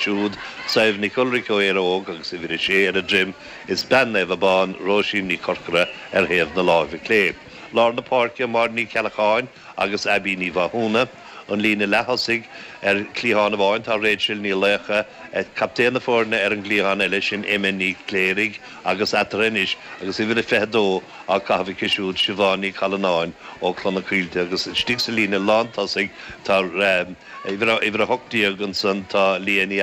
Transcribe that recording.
Siúd, Sadhbh Nic Ulraic ó Éire Óg agus uimhir a sé ar a droim is bean Naomh Abán, Róisín Ní Chorcora ar thaobh na láimhe clé. Lár na páirce, Máire Ní Cheallacháin agus Aibí Ní Mhathúna. An líne leath-thosaigh, ar chliathán amháin tá Rachel Ní Laochdha, captaen na foirne ar an gcliathán eile, sin Emma Ní Chléirigh agus eatarthu anois agus uimhir a 22 á caitheamh aici siúd, Siobhán Ní Challanáin ó Chloich na Coillte agus istigh sa líne lántosaigh tá uimhir 18 ansan tá Leah Ní.